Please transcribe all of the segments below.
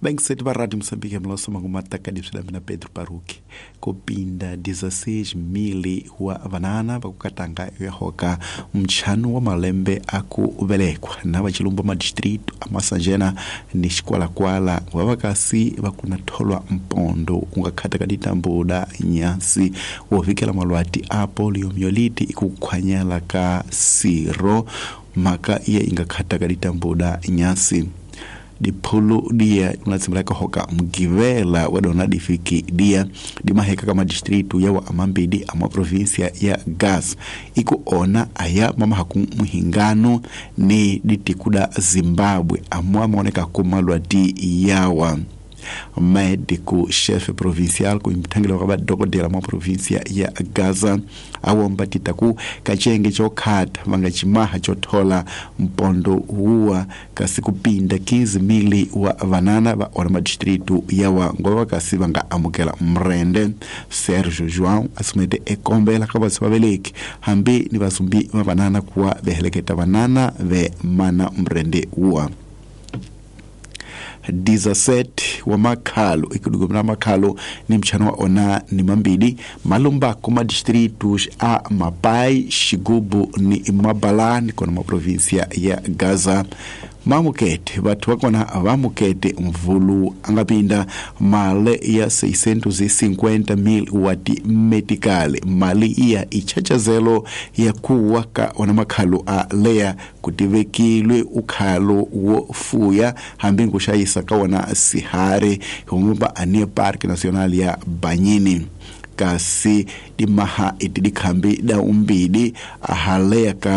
Bankseti va Radio Moçambique mloso mangumataka diswila mina Pedro Paruki kupinda 16,000 wa vanana vakukatanga yahoka mchano wa malembe aku velekwa na vachilumba madistrito amasanjena ni xikwalakwala vavakasi vakuna tholwa mpondo ungakhata ka ditambuda nyasi wovikela malwati a poliomyelite ikukhwanyela ka siro mhaka iye ingakhata ka ditambuda nyasi diphulu dia unatsimulaka hoka mgivela wadona difiki dia dimaheka kama distritu yawa amambidi ama provinsia ya Gaza iku ona aya mamahaku muhingano ni ditikuda Zimbabwe amwa maoneka kumalwati yawa médico chefe provincial kuimthangela kwa dokodela mwa provincia ya Gaza awomba titaku kachenge chokhata vangachimaha chothola mpondo huwa kasi kupinda 15,000 wa vanana va ona madistritu yawa ngova kasi vanga amukela mrende Sergio João asumete ekombela ka vatsi vaveleki hambi ni vasumbi va vanana kuwa veheleketa vanana ve mana mrende huwa 17 wa makhalo ikudugumira makhalo ni mchano wa ona ni mambili malumba kuma distritos a Mapai, Xigubu ni Mabalani kona ma provincia ya Gaza mamukete vathu vakona vamukete mvulu angapinda mali ya 650,000 wati metikale mali iya ichachazelo ya kuwa ka ona makhalo a leya kutivekilwe ukhalo wo fuya hambi nkuxayisa ka wona sihari humba anie Parque Nacional ya Banyini kasi dimaha iti dikhambi da umbidi ahaleya ka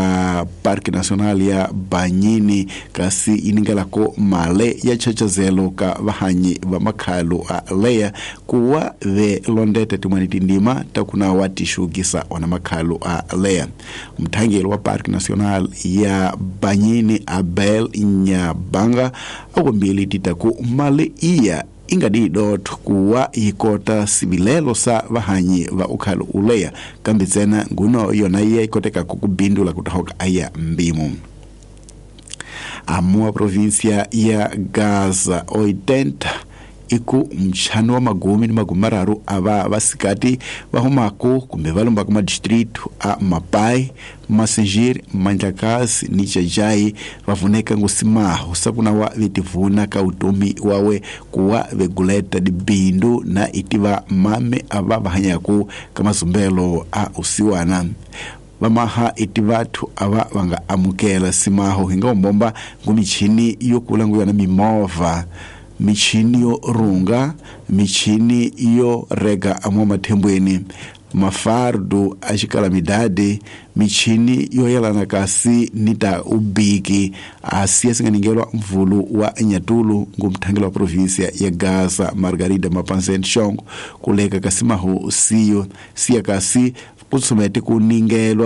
Parque Nacional ya Banyini kasi iningelako male ya chachazelo ka vahanyi va makhalo a leya kuwa ve londete timwani tindima takuna watixukisa ona makhalo a leya mthangeli wa Parque Nacional ya Banyini Abel Nyabanga akombili titaku male iya ingadidotho kuwa yikota sivilelo sa vahanyi va ukhalo uleya kambe tsena nguno yona iya ikoteka kukubindula kutahoka aya mbimo amua provincia ya Gaza 80 iku mchano wa magumi ni magumi mararu ava vasikati vahumako kumbe valumbaka madistritu a Mapai, Massingir, Mandlakazi ni Jajai vavuneka ngusimaho sakuna wa vetivuna ka utomi wawe kuwa veguleta dibindu na itiva mame ava vahanyaku ka mazumbelo a usiwana vamaha iti vathu ava vanga amukela simaho hinga umbomba ngumichini yokula nguyona mimovha michini yo runga michini yo rega amwa mathembweni mafardu a xikalamidadi michini yo yelana kasi ni ta ubiki asiya singaningelwa mvulu wa nyatulu ngumthangela wa provinsia ya Gaza Margarida Mapanzen Shongo kuleka kasi maho siyo siya kasi kutsumete kuningelwa